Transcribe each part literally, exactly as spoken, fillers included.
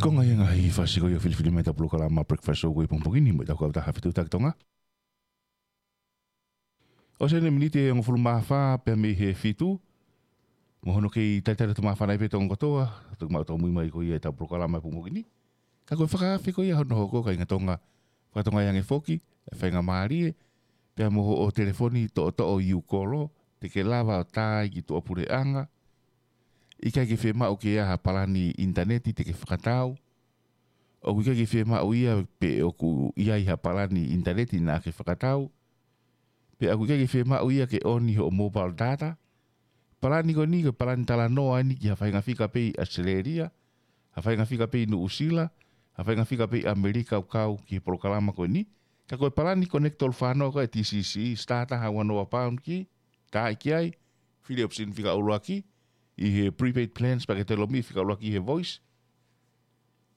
Ko e ngaahi fasi ko ia ʻo e filifili mai ʻetau polokalama Breakfast Show ko ia he pongipongi ni mo ʻetau kautaha fetuʻutaki Tonga. ʻOsi eni e miniti ʻe hongofulu mā fā pea mei he fitu. Mo hono kei talitali atu māfana ai pē Tonga kotoa, toki maʻu tōmui mai ko ia ʻetau polokalama he pongipongi ni. Ka ko e fakaafe ko ia hono hoko, kāinga Tonga, fakatonga ange foki e faingamālie, pea mo hoʻo telefoni toʻotoʻo ʻi ʻū kolo, te ke lava ʻo tā ai ki tuʻapuleʻanga. ʻIkai ke fiemaʻu ke ʻi ai ha palani ʻinitaneti te ke fakatau. ʻOku ʻikai ke fiemaʻu ia pe ʻoku ʻi ai ha palani ʻinitaneti naʻa ke fakatau. Pea ʻoku ʻikai ke fiemaʻu ia ke ʻoni hoʻo mobile data. Palani ko eni ko e palani talanoa eni ki ha faʻahinga fika pē ʻi ʻAositelēlia, ha faʻahinga fika pē ʻi Nuʻusila, ha faʻahinga fika pē ʻi ʻAmelika ʻoku kau ki he polokalama ko eni. Ka ko e palani Connect tolu fā noa ko e T C C, starter ha ua noa pound ki, tā ki ai, fili ʻopisini fika ʻuluaki, ʻi he prepaid plans pea ke telomi fika ʻuluaki he voice.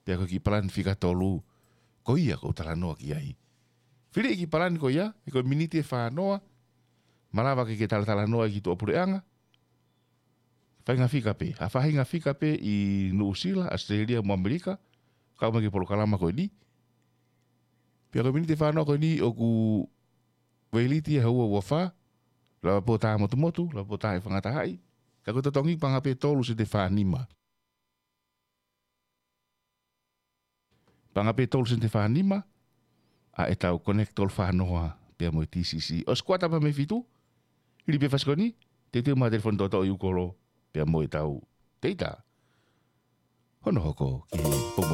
Pea ko e kiʻi palani fika tolu, ko ia ʻoku ou talanoa ki ai. Fili e kiʻi palani ko ia, he ko e miniti ʻe fā noa, malava ke ke talatalanoa ki tuʻapuleʻanga. Faʻahinga fika pē, ha faʻahinga fika pē ʻi Nuʻusila, ʻAositelēlia mo ʻAmelika, kau mai ki he polokalama ko eni. Pea ko e miniti ʻe fā noa ko eni ʻoku veiliti ʻe ha ua ua fā, lava pē ʻo tā motumotu, lava pē ʻo tā ʻe fangatahaʻi. Ka ko e totongi paʻanga pē tolu sēniti ʻe fā nima. Paʻanga pē tolu sēniti ʻe fā nima, ʻa ʻetau Connect tolu fā noa pea mo e T C C. ʻOsi kuata pē mei he fitu, hili pē fasi ko eni, teuteu mai ha telefoni toʻotoʻo ʻi ʻū kolo, pea mo ʻetau teita. Hono hoko ki he pongipongi